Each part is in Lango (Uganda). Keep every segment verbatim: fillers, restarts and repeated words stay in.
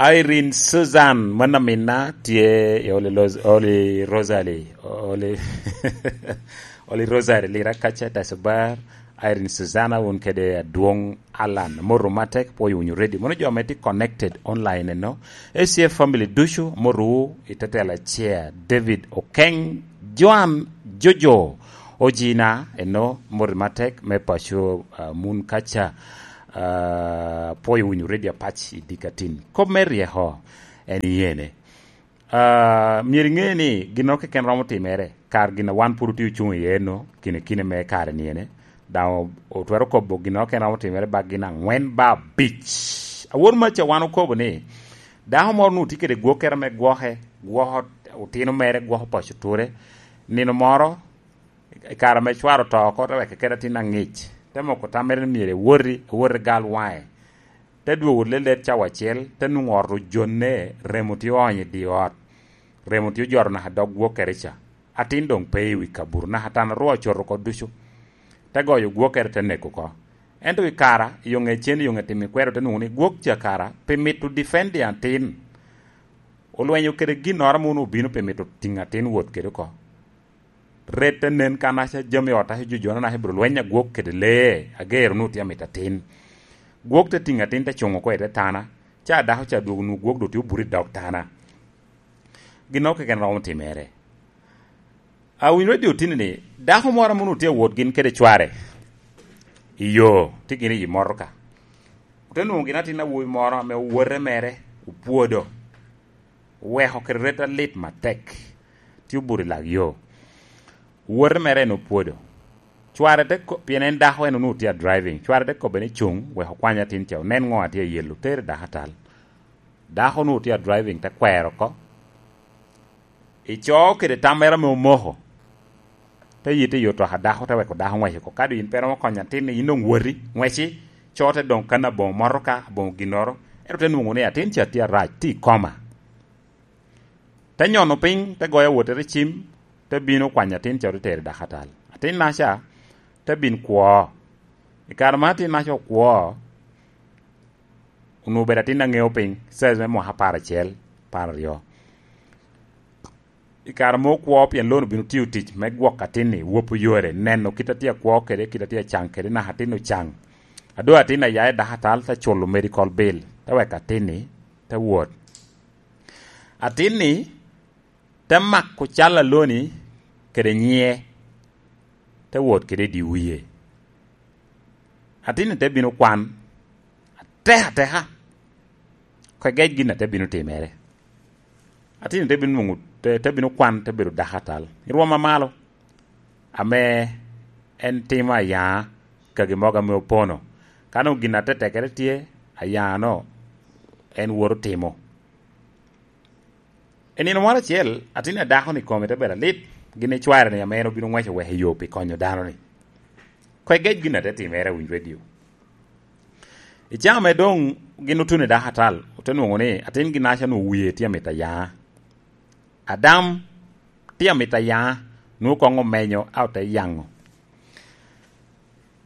Irene Susan, mano aminna, tye i Holy Los-, Holy Rosary, Holy, Holy Rosary, Lira kaca, Dacobar. Irene Susan, wun kede adwoŋ Alan, moru matek, pwoyo wunu ready. Mono jo ame tye connected online eno, A C F family ducu, moru i tetela chair, David Okeng, Joan Jojo, Ojina, eno, moru matek, me paco, ah, mun kaca, ah, pwoyo wunu ready apac i dikatin. Kop me ryeko, en iyene. Ah, myero iŋe ni ginnoro keken romo timere, kar gin a wan pwod otye ocuŋ iye eno, kine kine me kare niene, daŋ o-, otwero kobo ginnoro keken romo timere bak gin aŋwen ba abic. Awor maca wan okobo ni, dako moro onwoŋo tye kede gwokkere me gwoke, gwoko otino mere, gwoko paco ture, nino moro, i kare ame cware oto oko, te weko kede atin aŋic, te moko tammere ni myero ewoti, ewoti gal waŋe. Te dwogo lelet cawa acel, te nwoŋo ot ojonne, remo tye oonyo i dye ot, remo tye ojoro naka dog gwokkere ca. Atin doŋ pe i wi kabuto, naka tan arwa ocoto oko ducu. Te goyo gwokkere, te neko oko. Ento i kara, i yo ŋe cen, i yo ŋe timo ikwero, te nwoŋo ni gwok ca kara, pi mito defending atin, olwenyo kede ginnoro ame onwoŋo obino pi mito tiŋo atin wot kede oko. Ret te nen kan aca jami ot aca jojona naka ibiro lweny agwok kede lee, agero nu tye amito atin. Gwok te tiŋo atin te cuŋo oko i te tana, ca dako ca dwogo nu gwok doŋ tye obuto i dog tana. Ginnoro keken romo timere. Awinyo radio tini ni, dako moro ame onwoŋo tye awot gin kede cware i yo, tye gin i motoka. Ote nwoŋo gin atin awobi moro ame owote mere opwodo. Oweko kede ret alit matek, tye obuto i lak yo. Wote mere en opwodo. Cware te ko-, pien en dako en onwoŋo tye a driving. Cware te kobbe ni, "Cuŋ, wek okwany atin ca, onen ŋo a tye ayelo, tere dako atal." Dako onwoŋo tye a driving, te kwero oko. Ico kede tam mere ame omoko. Te yite i otoka dako, te weko dako ŋwec oko. Kadi in pe romo konyo atin, in doŋ woti, ŋweci, co te doŋ kan aboŋo motoka, aboŋo ginnoro. Ento te nwoŋo ni atin ca tye arac, tye i koma. Te nyono piny, te goyo awottere cim, te bino kwanyo atin ca, te tero i dakatal. Atinnaca te bin kwo. I kare ma atinnaca okwo, onwoŋo obedo atin aŋeo piny, size me mwaka apar acel, apar aryo. I kare ma okwo, pien lo-nu obino tiyo tic me gwoko atin-ni, wopo yore, neno kit a tye akwo kede, kit a tye acaŋ kede, naka atin ocaŋ. A doŋ atin aya i dakatal, te culo medical bill, te weko atin-ni te wot. Atin-ni te mako cal a lo-ni kede nyiŋe, te wot kede i dye wie. Atin-ni te bino kwan ateka ateka, kegec gin a te bino timere. Atin-ni te bino nwoŋo, te, te bino kwan, te bedo dakatal i rwom amalo, ame en timo ayaŋa, kagi mogo ame opono. Ka nwoŋo gin atetekere tye, ayaŋa-no en woto timo. I nino moro acel, atin a dako-ni kome te bedo alit, gin icware-ni ame en obino ŋweco wek i yo pi konyo dano-ni. Kegec gin a te timere, awinyo redio. I cawa ame doŋ gin otuno i dakatal, ote nwoŋo ni atin gin aca onwoŋo wie tye amito ayaŋa. Adam tye amito ayaŋa, nwoŋo koŋ omenyo, a ote yaŋo.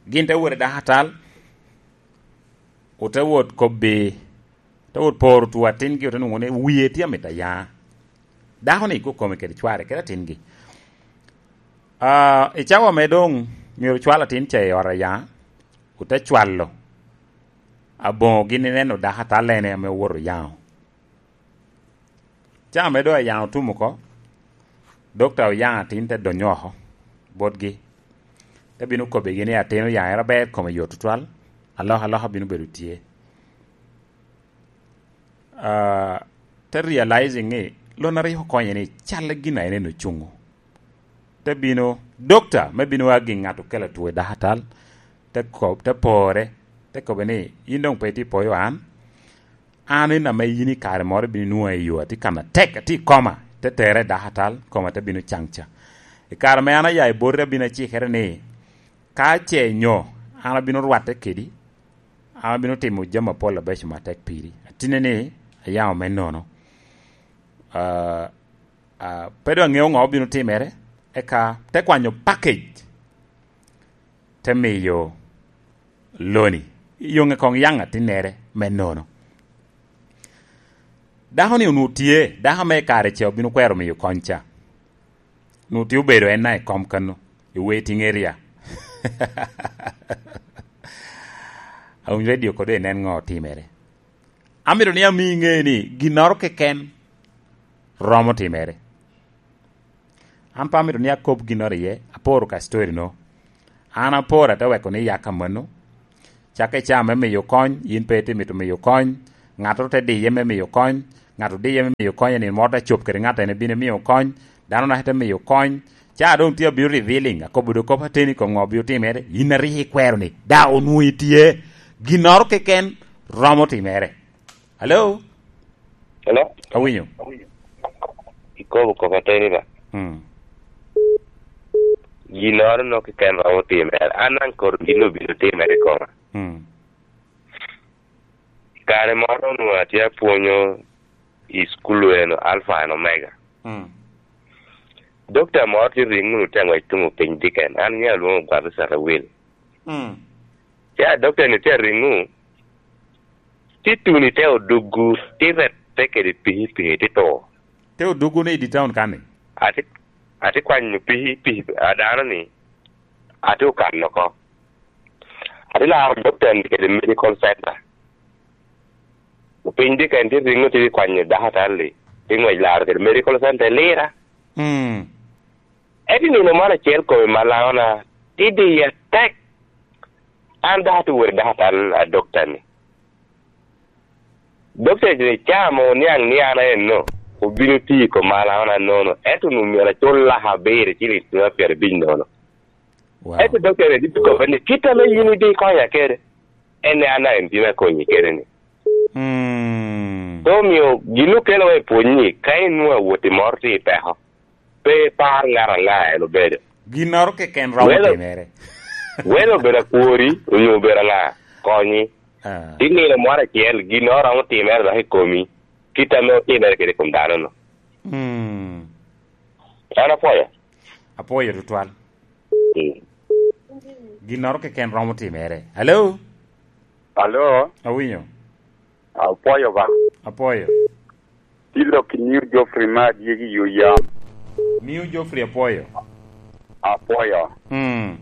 Gin te wot i dakatal, ote wot kobbi, te wot poro tu atingi, ote nwoŋo ni wie tye amito ayaŋa. Dako-ni kok kome kede cware, kede atingi. Ah, i cawa ame doŋ myero cwal atin ca i ot ayaŋa, ote cwalo aboŋo gin ineno dakatal ene ame owoto oyaŋo. Cawa ame doŋ ayaŋa otum oko, dokta oyaŋo atin te donyo oko botgi. Te bino kobbigi ni atin oyaŋere aber, kome yot tutwal, alokaloka bino bedo tye. Ah, te realizing ni lon a rik okonye ni cal gin a en en ocuŋo. Te bino dokta me bino a gin ŋat okelo two i dakatal, te kob-, te pore, te kobbe ni, "In doŋ pe itye poyo an, an en ame yin i kare moro ibino nwoŋo i yo, atye kan atek, atye i koma." Te tere i dakatal, koma te bino caŋ ca. I kare ame an aya i boti, abino acikere ni, ka ce nyo an abino rwatte kedi, an abino timo jami apol abeco matek piri. Atine ni ayaŋo me nono. Ah, ah, pe doŋ aŋeo ŋo obino timere, eka te kwanyo package, te miyo loni. Yoŋe koŋ yaŋ atinnere me nono. Dako-ni onwoŋo tye, dako me kare ca obino kwero miyo kony ca. Onwoŋo tye obedo en na i kom kano, i waiting area. Awiny radio kode inen ŋo otimere. Amito ni ami ŋe ni ginnoro keken romo timere. An pe amito ni akob ginnoro iye, aporo ka story-no. An aporo ate weko ni yak amanno. Cakke ca me miyo kony, yin pe itye mito miyo kony. Ŋattoro te diye me miyo kony. Ŋat odiye me miyo kony, nino moro te cop kede ŋat en ebino emio kony. Dano naka te miyo kony. Ca doŋ tye abino revealing, akobo doŋ kop ateni kom ŋo obino timere. Yin a rik ikwero ni, da onwoŋo itye. Ginnoro keken romo timere. Hello? Hello? Awinyo. Ikobo kop ateni ba? Hmm. Ginnoro no keken romo timere. An daŋ koro gin obino timere i koma. Hmm. Kare moro onwoŋo atye apwonyo i cukul eno Alpha and Omega. Hmm. Dokta moro tye riŋo wunu te ŋwec tuŋo piny diken. An nyiŋa lwoŋo Gwabisata Wil. Hmm. Ca dokta-ni tye ariŋo, tye tuni te oduggu, tye rette kede pikipiki, tye to. Te oduggu ni i di taun kan-ni? Ati, ati kwanyo pikipiki a dano-ni, ati okano oko. Ati laro dokta-ni kede medical center. Opiny diken tye riŋo tye kwanyo dakatar-li, tye ŋwec laro kede medical center i Lira. Mm. Ento i nino moro acel kome malaŋona tye diya tek. An dok atye wot i dakatar a dokta-ni. Dokta-ni ca ame oniaŋ ni an aenno, obino tiyo i kom malaŋona nono, ento onwoŋo myero acul laka abiro ciliŋ pyerabic nono. Wow. Ento dokta-ni tye kobba ni, "Kit ame yin ibikonya kede, en ni an daŋ en bino akonyi kede-ni." Mm. Te omio gin okelo wa i pwony ni, ka inwoŋo awot i moro tye i peko, pe ipar ŋat aŋa en obedo. Ginnoro keken romo Welo, timere. Welo obedo akwori, onyo obedo aŋa, konyi. Ah. Ti nino moro acel, ginnoro romo timere dok i komi, kit ame otimere kede i kom dano-nu. Mm. An apwoyo. Apwoyo tutwal. Mm. Ginnoro keken romo timere. Hello? Hello? Awinyo. Apwoyo ba. Apwoyo. Tilok i New Geoffrey ma adyegi yo yam. New Geoffrey apwoyo. Apwoyo. Mm.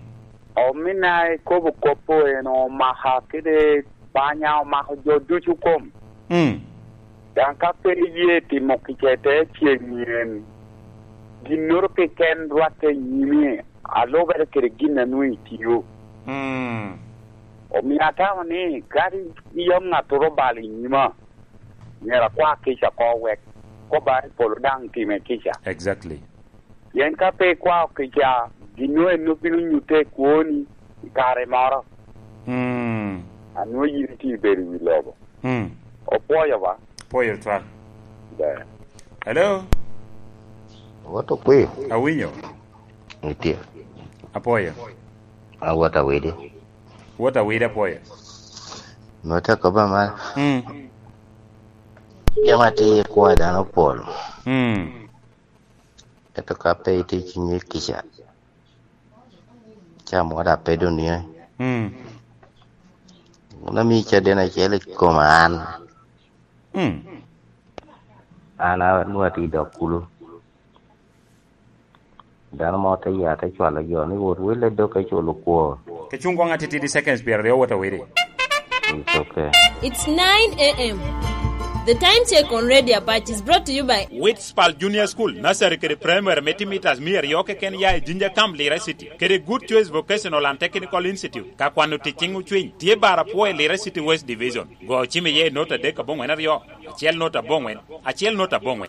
Omina ikobo kop-po en omaka kede banya omako jo ducu kom. Mm. Daŋ ka pe iye timo kica i te ceŋ nyen, ginnoro keken rwatte i nyimi, alubere kede gin a nwoŋo itio. Mm. Omio atamo ni, kadi iyam ŋattoro obalo i nyima, myero akwa kica oko wek kobba i polo daŋ time kica. Exactly. Pien ka pe ikwao kica, gin nwoŋo en obino nyutte i kwoni i kare moro. Mm. A nwoŋo yin itye ibedo i wi lobo. Mm. Opwoyo ba? Pwoyo twal. Ber. Hello? Wot okwi. Awinyo. Nitie. Apwoyo. Awot awidi. Wot awidi apwoyo. Nwote akoba mal. Mm. Jama ti ikwa dano pol. Mm. Ento ka pe itye i cinyi kica, ca moro daŋ pe doŋ nie. Mm. Wun ami caden acel i koma an. Mm. An a-, nwoŋo atye i dog kulu. Dano mo te ya te cwalo jo ni wot wille dok eculo kwor. Ke cuŋ koŋ atitidi seconds pyeraryo wot awiri. It's okay. It's nine a m. The time check on Radio Apac is brought to you by Witspal Junior School, Nursery kede Primary me tye mitas mia aryo keken ya i Jinja Camp, Lira City, kede Good Choice Vocational and Technical Institute. Ka kwano tic ciŋ ocwiny, tye bar apwo i Lira City West Division. Go cim iye i not adek aboŋwen aryo, acel not aboŋwen, acel not aboŋwen.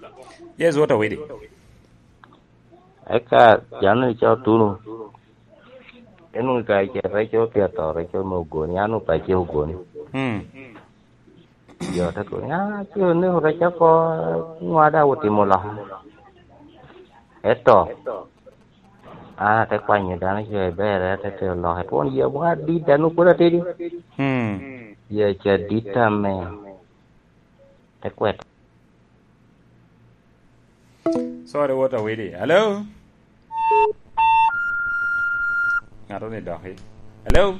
Yes, what are we doing? Eka dano ni ca otuno. En onwoŋo ka ice reco pi ato, reco me ogoni, an onwoŋo pe ace ogoni. Hmm. Jo te kono, "Ah, ce oneko reco oko, ŋo a daŋ otimo loka?" Eto, an ate kwanyo dano ce ber, ate tero loka, twon yie aboŋo adit, dano pwod atidi. Hmm. Yie ce adit ame. Te kwet. Sorry, what a widi. Hello? Ŋato ni doki. Hello?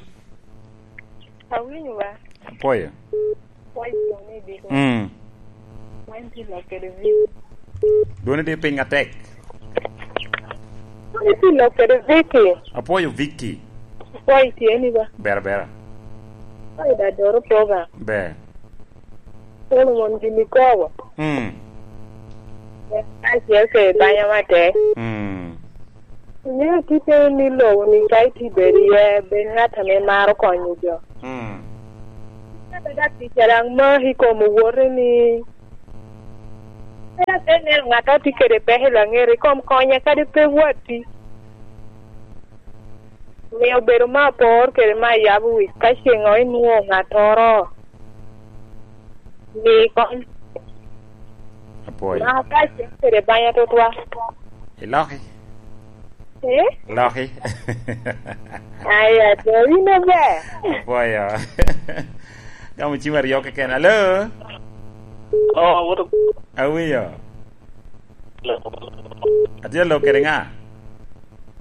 Awinyo wa. Apoyo. Wai kone biko. Mm. Wai Dwoni tye piny atek. Dwoni tye lok kede Vicky. Apwoyo Vicky. Apwoyo tye ni ba. Bera, bera. Apwoyo da doro program. Ber. Solomon gini kobo. Mm. Acel kede banya matek. Mm. Ingeyo tittere ni lobo ni ka itye bedo iye, bed ngat ame maro konyo jo. Mm. Ka bed atica daŋ maki i kom owote ni, pe ate neno ŋat a tye kede peko i laŋet i kom konye, kadi pe watti. Miyo bedo me apor kede me ayabo wic ka ceŋ o inwoŋo ŋattoro. Mi kony. Apwoyo. Ma ka cen kede banya tutwa. Iloki. Eh? Loki. Aya, to in ober. Apwoyo. Gamo cim aryo keken. Alo? Oh, what a- Awinyo. Atye lok kede ŋa?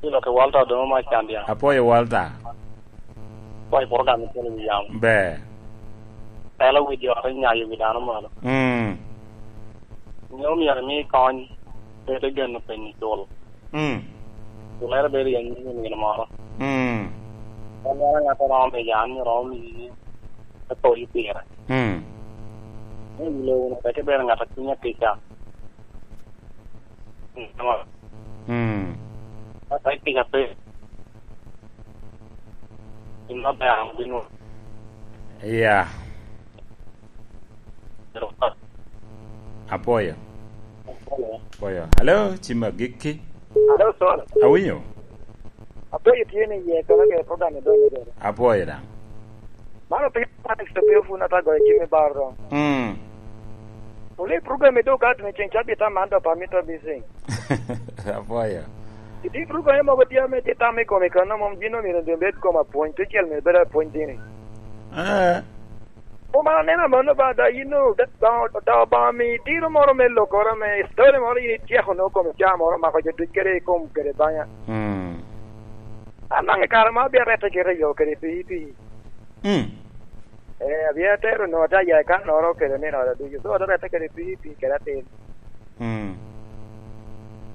Atye lok kede Walter Odomo ma Candia. Apwoyo Walter. Apwoyo program i kine wi yamo. Ber. Telo wi jo te nyayo wi dano malo. Mm. Nyo myero imi kony, pe te geno penyo cul. Mm. Culere bedo i anyim i nino moro. Mm. En ŋat a romo miyo an, myero romo miyi, te poli pire. Mm. Me wilo wunu peke bene ŋat a cunye atica. Mm. Ata i kica pe. Gin maber obino. Yeah. Apwoyo. Apwoyo. Alo, cim agikki. Alo, Solo. Awinyo. Apwoyo tye ni iye, kono ke program i doŋ i doŋ. Apwoyo daŋ. Mano piny Alex Opio Fun ata goyo jami baro. Mm. Wule program i dog at me ceng cabit aman do pa mito bising. Apwoyo. Iti program mogo tye ame tye tam i kom i kano mom gin omyero bed kom apwony, tucel myero bed apwony dini. Ah. Kom aneno amanno ba da yin o, da, da, da Obaŋa mi tiro moro me lokoro me story moro yin ityeko no kom ca moro mako jo duc kede i kom kede banya. Mm. An daŋ i kare ma abia rette kite i yo kede pii pii. Mm. Eh, abia tero no ta ya kan noro kede ni noro ducu. So, da rette kede pii pii kede atin. Mm.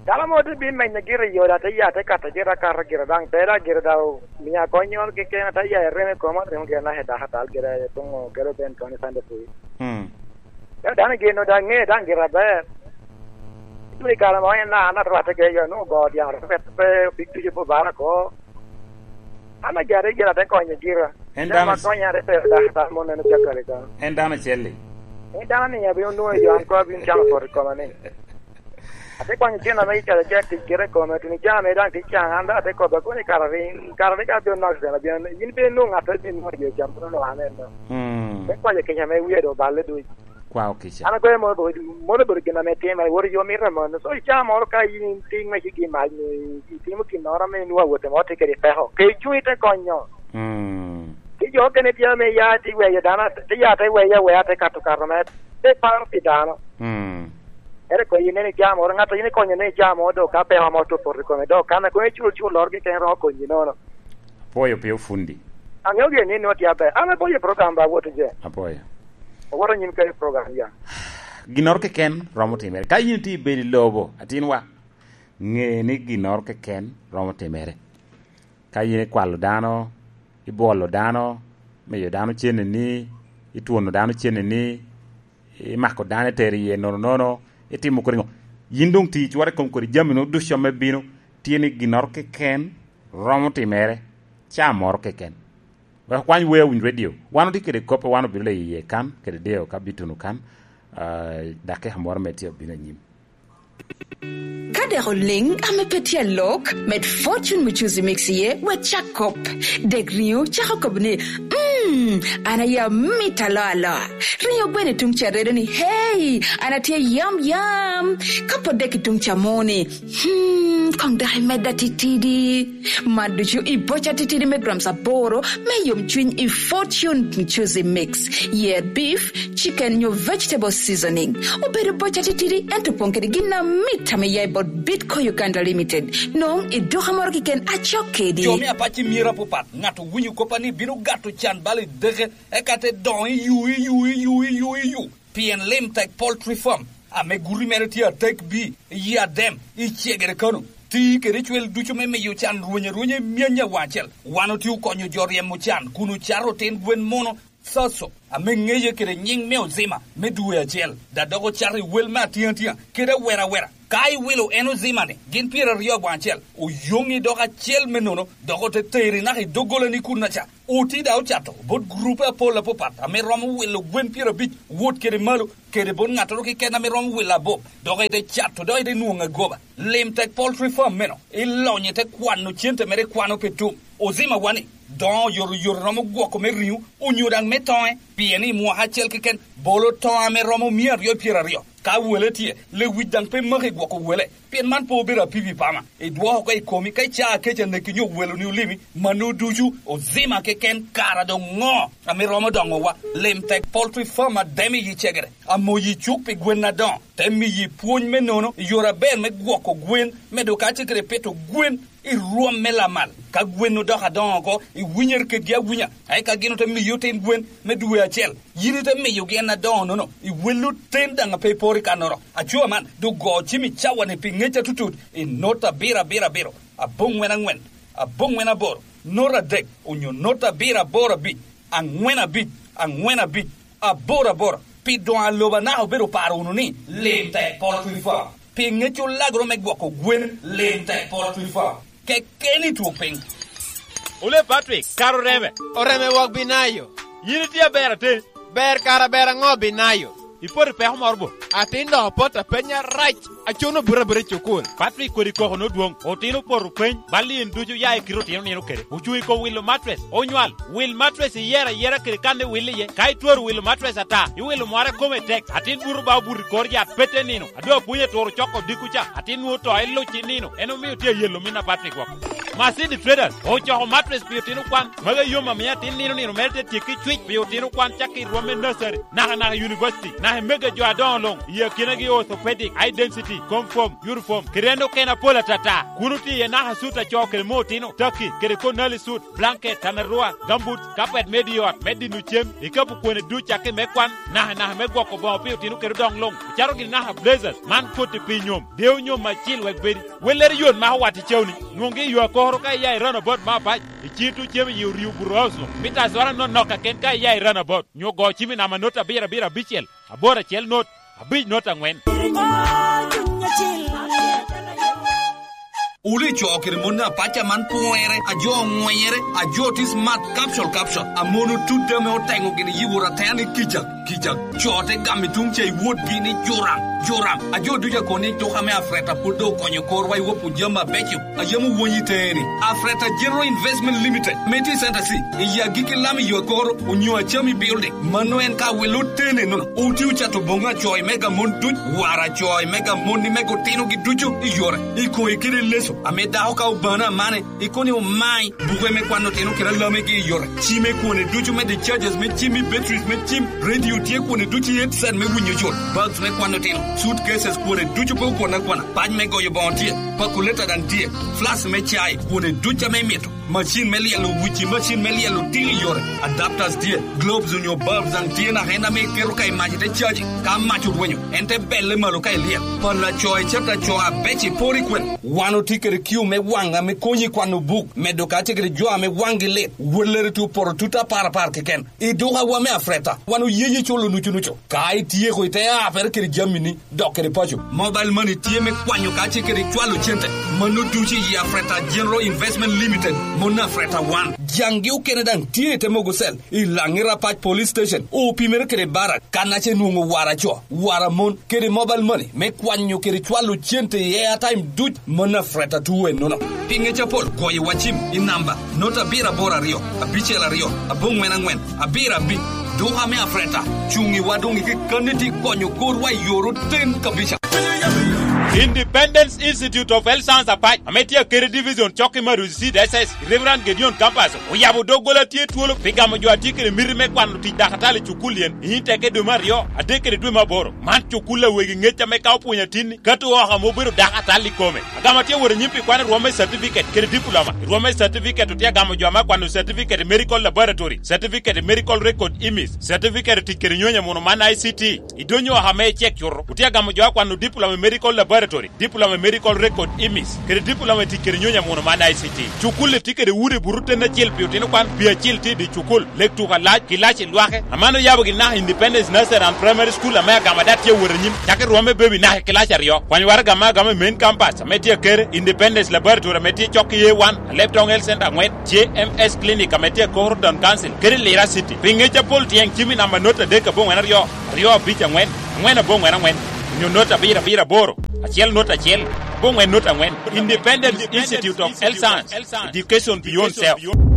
Dano mo te bin menyo gire i yo, da te ya te kato gire akato gire daŋ, te da gire da o, mia kony nyol keken, te ya i reme koma, remo gire na he daka tal gire, tuŋo kelo ben koni Sunday school. Mm. Ka dano geno da ŋe daŋ gire aber. Dwe i kare mo en na, na rwatte kede yo, no go dyang, pe, pe, big tuju po bara ko. An ajare gira te konyo gira. En dano ma konyo are pe da, da mo neno cakare ka. En dano acel-li. En dano ni abino nwoŋo yo, an ko abino camo pot i koma ni. Ate kwanyo cen ame icalo cek tic kite i kome, tuni cen ame daŋ tic can, an daŋ ate kobbe, koni kara rin, kara rik abino nok cen abino, yin pe inwoŋo ŋat abino nwoŋo jo cam, kono nwoŋo an en no. Mm. Te kwayo kica ame wie do oballe duc. Kwao kica. An agoyo mono obedo, mono obedo gin ame timere, wot i yo mito mono. So, i caa moro ka yin tye ŋwec i gin mac, ni itimo ginnoro ame inwoŋo awote mo tye kede peko, ke icuŋ ite konyo. Mm. Ti jo okene tye ame ya ti weyo dano, ti ya te weyo aweya, te kato kato me, te paro pi dano. Mm. Ere ko yin en i jam moro, ŋat a yin ikonyo ni i jam moro, dok ka peko mo tye opoto i kome, dok kan a kono icul cul loro keken romo konyi nono. Apwoyo pi ofundi. Aŋeo gire ni nwoŋo tye aber. An apwoyo program ba wot je. Apwoyo. Owoto nyim kede program ya. Ginnoro keken romo timere. Ka yin itye i bedo i lobo, atinwa, ŋe ni ginnoro keken romo timere. Ka yin ikwalo dano, ibwolo dano, miyo dano cenneni, itwono dano cenneni, imako dano itero iye nono nono, itimo kodi ŋo? Yin doŋ ti icware i kom kodi jami-nu ducu ame bino, tye ni ginnoro keken romo timere, caa moro keken. Wek okwany Wea Winy Radio. Wan otye kede kop, wan obino leyo iye kan, kede deyo ka bituno kan, ah, dakika moro me tye obino anyim. Ka dek oliŋ ame pe tye alok, med Fortune Muchuzi Mix iye, wek cak kop. Dek riŋo cako kobo ni, "Mm, an aye amito aloa aloa." Riŋo gweno i tuŋ ca redo ni, "Hey, an atye yam yam." Ka pwod dek i tuŋ ca moni, "Hmm, koŋ dok imedda titidi." Man ducu i boca titidi me grams aboro me yomcwiny i Fortune Muchuzi Mix. Yer beef, chicken nyo vegetable seasoning. Obedo boca titidi, ento opoŋ kede gin amit ame ya i bot Bitco Uganda Limited. Noŋ i duka moro keken acok kedi. Jo me apac i myero apapat, ŋat owinyo kop a ni bino gato can bal i deke, eka te doŋo i yu, i yu, i yu, i yu, i yu. Pien lim tek Poultry Farm. Ame guti mere tye atek bi, i Adem, i Cegere Kano. Ti kede cwel ducu me miyo can rweny arwenya i myany awaŋ acel. Wan otye okonyo jo ryemo can kun ocato otin gwen muno Saso, ame ŋeye kede nyiŋ me Ozima me dwe acel, da dok ocato i wel me atiŋatia kede awera awera. Ka iwilo en Ozima-ni, gin pyeraryo awaŋ acel, oyoŋi dok acel me nono, dok ote teri naka i doggolani kunnaca. Oti da ocato bot gurupe apol apapat ame romo wilo gwen pyerabic wot kede malo, kede bot ŋattoro keken ame romo wilo abop, dok ete cato, dok ete nwoŋo agoba. Lim tek poultry farm meno, ilonyo ite kwano cente mere ikwano pe tum. Ozima wani, doŋo oyotoyot romo gwoko me riŋo, onyo daŋ me toŋe, pien i mwaka acel keken, bolo toŋo ame romo mia aryo pyeraryo. Ka wele tye, lewic daŋ pe maki gwoko wele, pien man pe obedo apipi pama. Idwoko oko i komi ka icaa kec aneki nyo weloni olimi, mano ducu Ozima keken kara doŋ ŋo ame romo doŋowa? Lim tek poultry farm Adem i Cegere, amoyi cuk pi gwen adoŋo, te miyi pwony me nono i yore aber me gwoko gwen, medo kacel kede pito gwen i rwom me lamal. Ka gwen odoko adoŋo oko, iwinyere kedgi awinya, eka gin ote miyi otin gwen me dwe acel. Yin ite miyogi en adoŋo-nono, iwello ten daŋ a pe iporo i kannoro. Aco man, doŋ go cim i cawa-ni pi ŋec atutut, i not abiro abiro abiro, aboŋwen aŋwen, aboŋwen aboro, not adek, onyo not abiro aboro abic, aŋwen abic, aŋwen abic, aboro aboro. Pi doŋ a lobo anaka obedo oparo wunu ni, lim tek poultry farm. Pi ŋec olagoro me gwoko gwen, lim tek poultry farm. Kekeni twok piny. Ole Patrick, kara oreme. Oreme wok Binayo. Yin itye aber atin. Ber kara ber aŋo Binayo? Ipoto i peko moro bo? Atin doŋ opot apenya rac. Acono buto abuta i cukul. Patrick kodi koko nodwoŋ. Otino opoto peny. Bal in ducu ya i kite otino nino kede. Ocuŋ i kom wilo matres. Onywal. Wil matres iyero ayera kede kan iwil iye. Ka itwero wilo matres ata, iwilo mwara kome tek. Atin buto ba obuto i kor yat pete nino. A doŋ apwony aturo coko odiko ca, atin nwoŋo to iluc i nino, en omio tye ayelo min apat i gwok. Masidi Traders ocoko matres pi otino kwan, magi yom amio atin nino nino mere te tye ki cwic pi otino kwan cakki i rwom me nursery, naka naka i university, naka i mega jo adoŋo luŋ, i akinagi orthopedic, eye density, confirm, uniform, kede en okene apol atata. Kun otye iye naka sut acoo kede mo otino, taki, kede konali sut, blanket, tanarua, gambut, kapet me di ot, me dino cem, ikapo kwone duc cakki me kwan, naka naka me gwoko boŋo pi otino kede odoŋ luŋ, ocaro gini naka blazers, man koti pi nyom, deo nyom acil wek bedi. Wellere yot mako wat i cawni, nwoŋgi i yo akoro ka iya i roundabout me abac, i cito cem i yi oryo buto house luŋ, mita azora nonok kaken ka iya i roundabout, nyo go cim i namba not abiro abiro abicel, aboro acel not, abic not aŋwen. Wun icoo kede mon apac aman pwonyere, a jo oŋwenyere, a jo tye smart, capsule, capsule, a mon otut ame oteŋo gini yi wot atena ni kica, kica. Co te gamo i tuŋ ca i wotgi ni juram, juram. A jo ducu a kono ni duka me Afreta pwod doŋ okonyo korwa i wopwu jami abeco a yam owony i teeni. Afreta General Investment Limited, me tye i Center C, i agikki lam i yo akoro, onyo Acami Building. Mano en ka wilo tene nono. Oti ocato boŋo acoy mega mon duc, wara acoy mega mon ni mega otinogi ducu i yore, i koŋe kede i leco, ame dako ka obano amane, i koni omai, buke me kwano otino kede alamegi i yore, cime kwone ducu me discharges me cim i batteries me cim, radio tye kwone ducu i headset me winyo cut, bags me kwano otino, suitcases kwone ducu pe okwon akwana, pac me goyo boŋo tye, pakuleta daŋ tye, flask me cai kwone ducu ame imito. Macin me lyelo wici, macin me lyelo tiki i yore, adapters tye, globes onyo bulbs daŋ tye naka en ame iketo ka i mac ite caji. Ka mac orwenyo, en te belle malo ka ilyel. Pala co icet aco abec i pori kwen. Wan otye kede kiu me waŋ ame konyi i kwano buk, medo kacel kede jo ame waŋgi lit. Wellere tye opoto tut apar apar keken. I dukawa me Afreta, wan oye ye culo nucu nucu. Ka ityeko ite apere kede jamini, dok kede paco. Mobile money tye me kwanyo kacel kede cwalo cente. Mano ducu i Afreta General Investment Limited, mon Afreta wan. Jaŋgi okene daŋ tye i te mogo cell, i Laŋi Rapac Police Station, opimere kede barak, kan ace nwoŋo wara co, wara mon, kede mobile money me kwanyo kede cwalo cente i airtime duc, mon Afreta tuwe nono. Pi ŋec apol, goyo wa cim i namba, not abiro aboro aryo, abicel aryo, aboŋwen aŋwen, abiro abic. Duka me Afreta, cuŋ i wa doŋ i kekkanni ti konyo korwa i yor oten kabisa. Independence Institute of Health Science Apac, ame tye akede division cokki me Arusi City S S, Reverend Gedeon Campus, oyabo doggola tye twolo pi gamo jo a tye kede miti me kwano tic dakatali i cukul yen i nyim tekke dwe me aryo, adek kede dwe me aboro. Man cukul a wegi ŋec ame ka opwonyo atinni, ka to oko ame obedo dakatali i kome. Agamo tye wot anyim pi kwano rwom me certificate kede diploma. Rwom me certificate otye agamo jo ame akwano certificate i medical laboratory, certificate i medical record image, certificate tic kede nyonyo muno man I C T. I dony oko ame icek cuto, otye agamo jo akwano diploma i medical laboratory, diploma i medical record image, kede diploma i tic kede nyonyo muno man I C T. Cukul-li tye kede udi buto ten acel pi otino kwan, pi acel tye i dye cukul, lek tuko alac, kilaci lwake. Aman oyabo gi naka Independence Nursery and Primary School ame agamo adat tye awot anyim, cakki rwom me baby naka i kilaci aryo. Kwany waraga ame agamo i main campus ame tye akere, Independence Laboratory ame tye cok i A one, Alep Town Health Center angwen, J M S Clinic ame tye akoro Town Council, kede Lira City. Pi ŋec apol tyeng cim i namba not adek aboŋwen aryo, aryo abic angwen, angwen aboŋwen angwen, onyo not abiro abiro aboro, acel not acel, aboŋwen not angwen. Independence Institute of Health Science, Education Beyond Self.